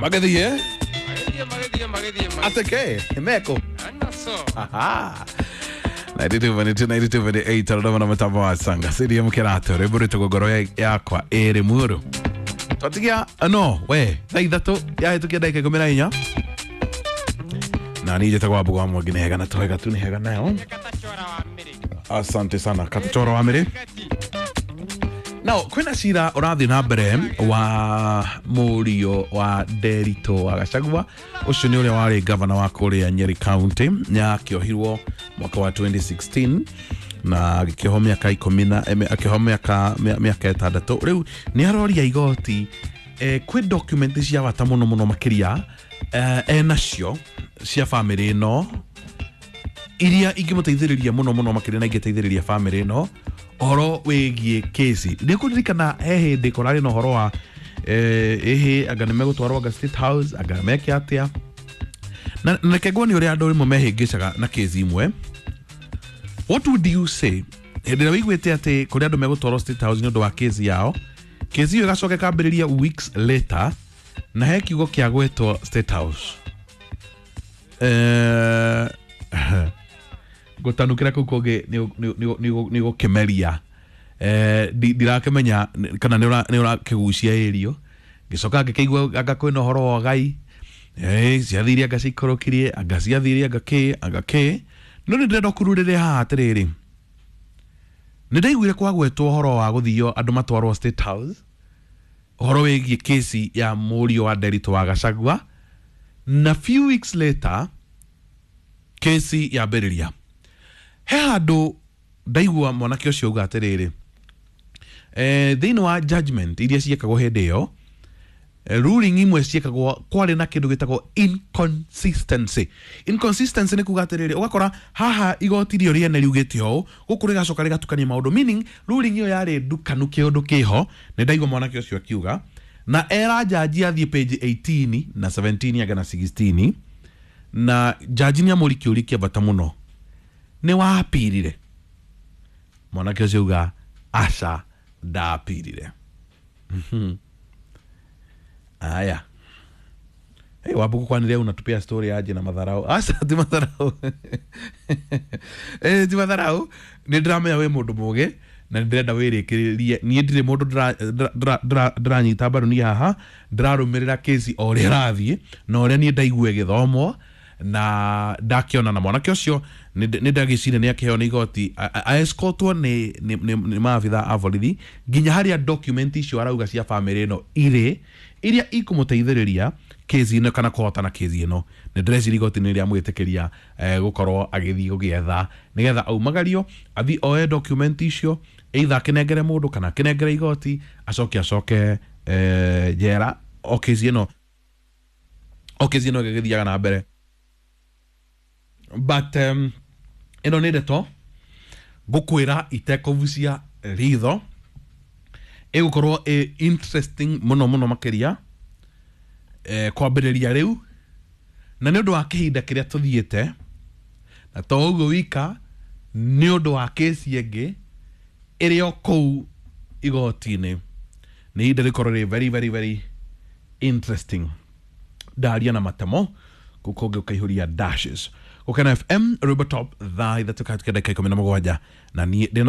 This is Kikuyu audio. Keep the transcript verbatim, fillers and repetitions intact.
Magĩthiĩ. Magĩthiĩ, magĩthiĩ, magĩthiĩ. Atĩkĩ meko. Anaso. Aha. ninety-two point two, ninety-two point eight, Dodoma na mũtambo wa Sanga C D M Kĩratũ, rwĩmbo rwĩtagwo Ngoro Yakwa Ĩrĩ Muoyo. Twatigia no we thaa ithatũ yahĩtũkia ndagĩka ikũmi na inya, na niĩ njĩtagwo Wambugu wa Mwangi. Nĩ hega na twega tu, nĩ hega nayo. Katachora wa mĩrĩ. Asante sana, Katachora wa mĩrĩ. Gati. Now kwĩna cira ũrathiĩ na mbere wa mũriũ wa Nderitũ wa Gachagua. Ũcio nĩ ũrĩa warĩ gavana wa kũrĩa Nyeri County, nĩ akĩohirwo mwaka wa twenty sixteen na agĩkĩohwo mĩaka ikũmi na em, akĩohwo mĩaka mĩa- mĩaka ĩtandatũ. Rĩu nĩ aroria igoti, eh, kwĩ document cia bata mũno mũno makĩria, eh, enacio cia bamĩrĩ ĩno iria ingĩmũteithĩrĩria mũno mũno makĩria na ingĩteithĩrĩria bamĩrĩ ĩno ũhoro wĩgiĩ kesi. Nĩ kũririkana he hĩndĩ kũrarĩ na ũhoro wa eh, ĩhĩ anga nĩ megũtwarwo anga State House, anga meke atĩa, na na reke nguonie ũrĩa andũ rĩmwe mehĩngĩcaga na kesi imwe. What would you say hĩndĩ ĩrĩa wĩiguĩte atĩ kũrĩ andũ megũtwarwo State House nĩ ũndũ wa kesi yao, kesi ĩyo ĩgacoka ĩkambĩrĩria weeks later na he kiugo kĩa gwĩtwo State House? eh, ngũtanukĩra kũu kũngĩ nĩ gũkĩmeria. Eh, ndi- ndirakĩmenya kana nĩ ũrakĩgucia ĩrio. Ngĩcoka ngĩkĩigua anga kwĩna ũhoro wa ũgai. Eh, ciathire anga ciikũrũkirie, anga ciathire anga kĩ, anga kĩ, no nĩ ndĩrenda ũkururĩre haha atĩrĩrĩ, nĩ ndaiguire kwagwetwo ũhoro wa gũthio andũ matwarwo State House, ũhoro wĩgiĩ kesi ya mũriũ wa Nderitũ wa Gachagua, na few weeks later kesi yambĩrĩria. He handũ ndaigua mwanake ũcio auga atĩrĩrĩ, eh, thĩinĩ wa judgment iria ciĩkagwo hĩndĩ ĩyo, eh, ruling imwe ciĩkagwo kwarĩ na kĩndũ gĩtagwo inconsistency. Inconsistency nĩ kuga atĩrĩrĩ, ũgakora haha igoti rĩo rĩene riugĩte ũũ, gũkũ rĩgacoka rĩgatukania maũndũ, meaning ruling ĩyo yarĩ ndukanu, kĩũndũ kĩho. Nĩ ndaigua mwanake ũcio akiuga na era jaji athiĩ page eighteen na seventeen anga na sixteen, na jaji nĩ amũri kĩũria kĩa bata mũno, nĩ wapirire? Mwanake ũcio auga aca, ndapirire. Aya. Hey, Wambugu, kwani leo unatupia story aje na madharau? Aca, ti madharau, eh, ti madharau. Nĩ ndĩramenya wĩ mũndũ mũgĩ na nĩ ndĩrenda wĩrĩkĩrĩrie. Niĩ ndirĩ mũndũ ndĩra- ndĩra- ndĩra- ndĩranyita mbaru. Niĩ haha ndĩrarũmĩrĩra kesi o ũrĩa ĩrathiĩ na ũrĩa niĩ ndaigua ĩgĩthomwo na ndakĩona. Na mwanake ũcio nĩ nĩ ndagĩciria nĩ akĩheo nĩ igoti aescortwo nĩ nĩ- nĩ nĩ maabitha a borithi nginya harĩa document icio arauga cia bamĩrĩ ĩno irĩ, iria ikũmũteithĩrĩria kesi ĩno kana kũhotana kesi ĩno. Nĩ ndĩreciria igoti nĩ rĩamwĩtĩkĩria eh, gũkorwo agĩthiĩ gũgĩetha nĩgetha aumagario athiĩ oe document icio, either akĩnengere mũndũ kana akĩnengere igoti, acoke acoke eh, njera o kesi ĩno o kesi ĩno ĩgĩthiaga na mbere. But um, ĩno nĩ ndeto ngũkwĩra itekũbucia ritho, ĩgũkorwo ĩ interesting mũno mũno makĩria, eh, kwambĩrĩria rĩu na nĩ ũndũ wa kĩhinda kĩrĩa tũthiĩte, na to ũguo wika, nĩ ũndũ wa kesi ĩngĩ ĩrĩ o kũu igoti-inĩ. Nĩ ihinda rĩkorwo rĩ very, very, very interesting. Ndaria na matemo kũu kũngĩ ũkaihũria dashes. Gũkena F M, rwĩmbo top, thaa ithatũ kahĩtũkia ndagĩka ikũmi na mũgwanja, na niĩ ndĩna